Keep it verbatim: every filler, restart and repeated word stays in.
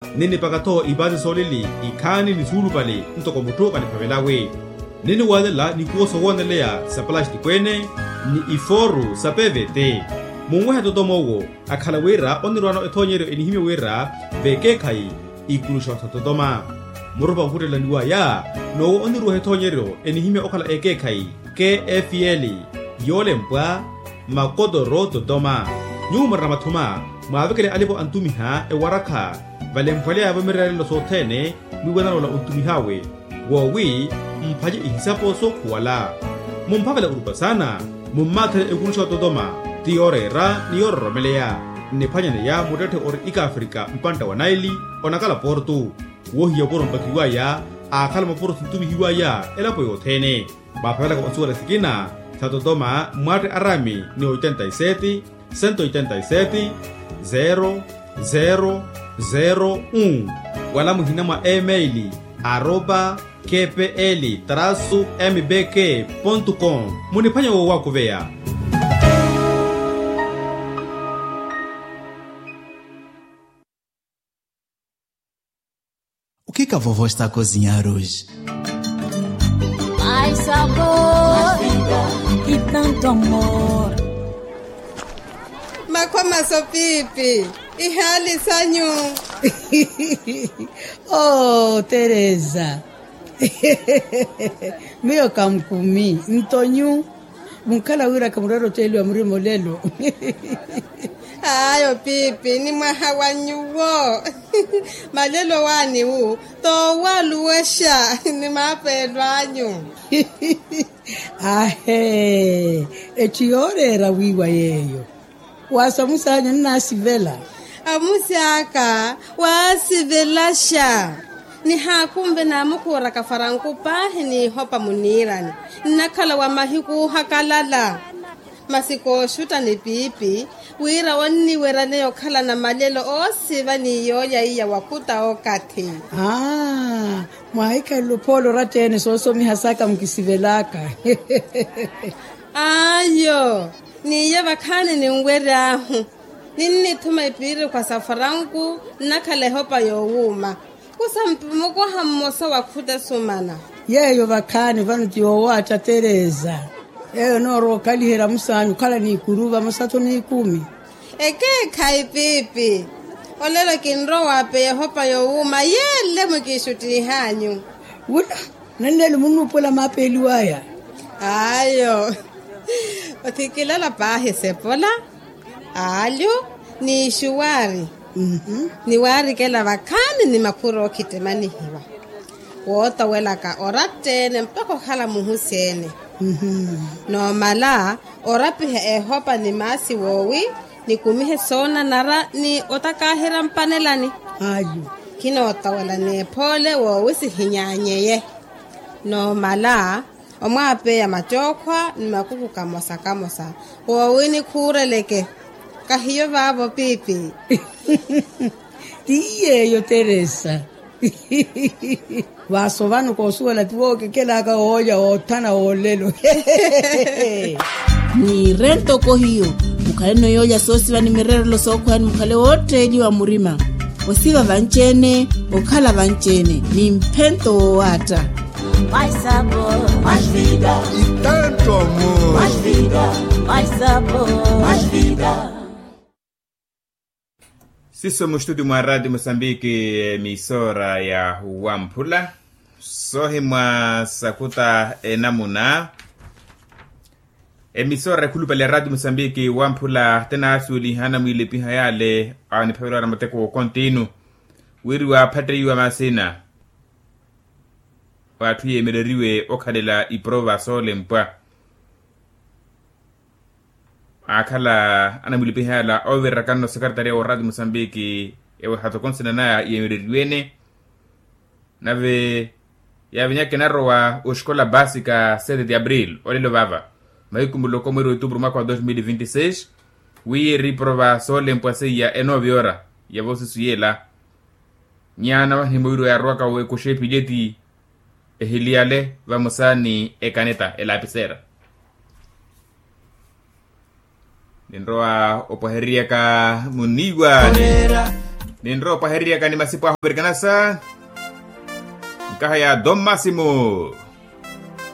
Ninipaka-tho ipaasi soolili ikhaani ni suulupale ntoko mutthu kaniphavelawe. Niniwalela nikuwo sowooneleya sa palastiko-ene ni ifooru sa pevete. Munwehe totoma owo akhala wira onirwaano ethoonyeryo enihimya wira vekeekhayi ikuluxa sa totoma. Murupa onkhuttelaniwaya n'owo oniruweha ethoonyeryo enihimya okhala ekeekhayi kfl, yoolempwa makotoro totoma. Nyuwo murina mathuma mwaavekele alipo antumiha ewarakha valemphweleyavo mirerelelo sothene mwiiwanana ola ontumihawe woowi mphanye ihisapo sookhuwala. Mumphavela orupa saana mummaathele ekuluxa ototoma ti yooreera ni yoororomeleya. Nniphwanyaneya muttetthe ori ikaafrika mpantta wa naili onakala portu. Woohiya opuro mpakiwaya aakhala mapuro sintumihiwaya elapo yothene. Mwaapavelaka osuwela sikina sa totoma mwatte arami ni oitenta y sete, sento oitenta y sete, zero zero zero un, wala muhina mwa email arroba kpl trasu mbk pontu com. Muniphwanya woowakuveya. O que que a vovó está a cozinhar hoje? Mais sabor e tanto amor. Makhwa maso pipi, ihali sanyu. Oh, Teresa. Miyo kankumi ntonyu. Munkhala wiiraka mureere oceeliwa murima olelo. Ayo pipi ni mwaha wa nyuwo. Malelo waani wu toowaluwexa ni maapeelo anyu. Ahe. Etthu yooreera wiiwa yeeyo. Waasamusi anyu nnaasivela. Amusi aka waasivelaxa. Nihaakunve naamukhuuraka faranku paahi n'ihopa muniirani. Nnakhala wa mahiku oohakalala. Masi kooxutta ni piipi wira onniweryaneya okhalana malelo oosiva ni yoolya iya wakhuta okathi. Aa. Mwaahikhalele ophoolo oratta-ene soosomiha saka mukisivelaka. Ayo. N'iye vakhaani ninwery'ahu. Ninnithuma ipiirikhwa sa faranku nnakhala ehopa yoowuuma. Kusampi mukoha mmosa wa khuta esumana. Yeeyo vakhaani vano ti yoowaatta teresa. Yeeyo noorowa okhaliherya musaani okhala n'ikuru vamosa-tho n'ikumi. Ekeekhayi piipi. Olelo kinrowa waapeya ehopa yoowuuma yeele mwikiixuttiih'anyu. Wula. Nanneelo munnuupuwela maapeeliw'aya. Ayo. Othikilela paahi sepola. Aalyo. Ni ixuwaari. Ni waarikela vakhaani ni makhuru ookhittemanihiwa. Wootowelaka oratta-ene mpakha okhala muhusi-ene. Noomala orapiha ehopa ni maasi woowi nikumihe soonanara ni otakaahira mpanelani. Ayo. Khinootowela n'ephoole woowi sihinyaanyeye. Noomala omwaapeya macookhwa ni makuku kamosa kamosa woowi nikhuureleke. Kahiyo vaavo piipi. Ti yeeyo teresa. Vaasovano koosuwela ti wookekelaka woolya woothana woolelo. Niire ntoko hiyo. Mukhaleno yoolya soosiva ni mireerelo sookhweya ni mukhale wootteeliwa murima. Osiva vanci-ene okhala vanci-ene ni mphento woowaatta. Siso muxtutyu mwa raatiyo mosambiki emisora ya wamphula. Soohimwa sakuta enamuna. Emisora ekhulupale ya raatiyo mosambiki wamphula tinaasuweliha anamwiilepiha yaale aniphavela ora mateko wookontinu. Wiriwa aphatteiwa masina w'atthu yeemereriwe okhalela iprova soolempwa. Aakhala anamwilipiha yala ovirerakano sekretaria wa oraati musambiki ewe hatokonsina naya yeemereriwe-ene. Nave yaavinyaka enarowa oxikola basika sete de abril olelo vava mahiku muloko mweeri wa otupuru mwaka wa dos mil vinti seis. Wi yeeriprova soolempwa seiya enoovyora ya voosisu yeela. Nyaana vahimweriwa yaarowaka wekuxa epileti ehiliyale vamosa ni ekaneta elapiseera. Ninrowa opwahereriyaka muniiwa. Ninrowa opahereryaka ni masipo ahu perikanasa. Nkaha ya don masimo.